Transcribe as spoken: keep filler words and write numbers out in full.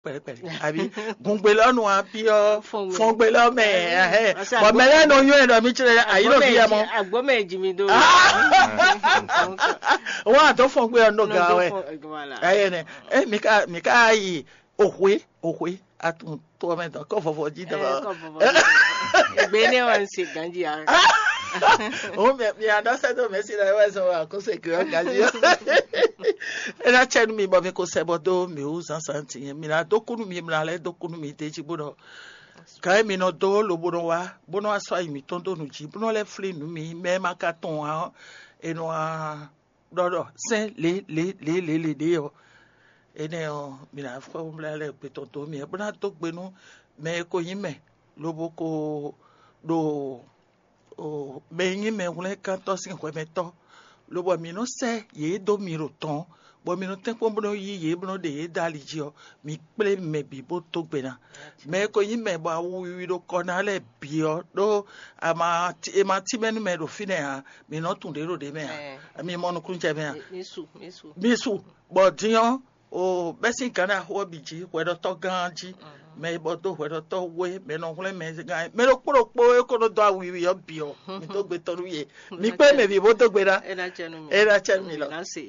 Pɛlɛpɛlɛ àbí? Gungbe lɔ nu api ɔ, fɔngbe lɔ mɛ. Bɔn mɛ lɛ nɔ nyɔ ɛ ɖɔ mi tsirɛ ayi lɔ fi yɛ mɔ. Agbɔmɛ ji mi do. Wọn àtɔ fɔngbe ɔ nɔ ga wɛ. Ayɛ nɛ. Ɛ mi ka mi ka yi ohwe ohwe atun tɔ mɛ dɔ kɔ vɔvɔ ji dɔ. Gbe ne wa se ganji a. O mɛ mi a dɔ sɛ do mɛ si la wɛ sɔ wa ko se ke ɔ ganji ɔ. E na tsɛ nu mi bɔ mi ko sɛ bɔ do mi wu zan santi yɛ mi na do kunu mi mla lɛ do kunu mi de ji bó nɔ. Kan mi nɔ do lo bó nɔ wa bó nɔ wa sɔ ayi mi tɔn do nu ji bó nɔ lɛ fli nu mi mɛ ma ka tɔn wa ɔ e nɔ wa ɖɔ ɖɔ sɛn le le le le le ɖe ɔ. Enɛ ɔ mi na fɔ mla lɛ gbe tɔn do mi bó na do gbe nu mɛ e ko nyi mɛ lobo ko ɖo o mɛ e nyí mɛhwlɛ́nkántɔ́ sín hwɛmɛtɔ́, lobɔ mǐ nɔ́ sɛ́ yě dó mi ɖo tɔn, bɔ mi nɔ tɛ́nkpɔ́n bó nɔ́ yí yě bó nɔ́ ɖe yě dó ali jí ɔ́, mi kplé mɛ bǐ bó dó gbe ná. Mɛ e ko nyí mɛ bɔ awu wiwi ɖo kɔ ná lɛ́ɛ bǐ ɔ́, ɖó è ma tínmɛ nú mɛ ɖo fínɛ́ ǎ, mǐ nɔ́ tunwun ɖě ɖo ɖě mɛ ǎ, mi mɔ nukúnnú jɛ mɛ ǎ. Mi su, bɔ din ɔ́, o bɛ́ sín gǎn ɖaxó ɔ́ bǐ jí hwɛɖɔtɔ́ gán ɔ́ jí, mɛ e bɔ dó hwɛɖɔtɔ́ wú é, mɛ e nɔ hwlɛ́n mɛ gán é, mɛ ɖokpó ɖokpó e ko nɔ dó awu wiwi ɔ́ bǐ ɔ́, mi dó gbe tɔn nú yě. Mi kplé mɛ bǐ bó dó gbe ná. É ná cɛ nú mi. É ná cɛ nú mi lɔ. Mi ná se.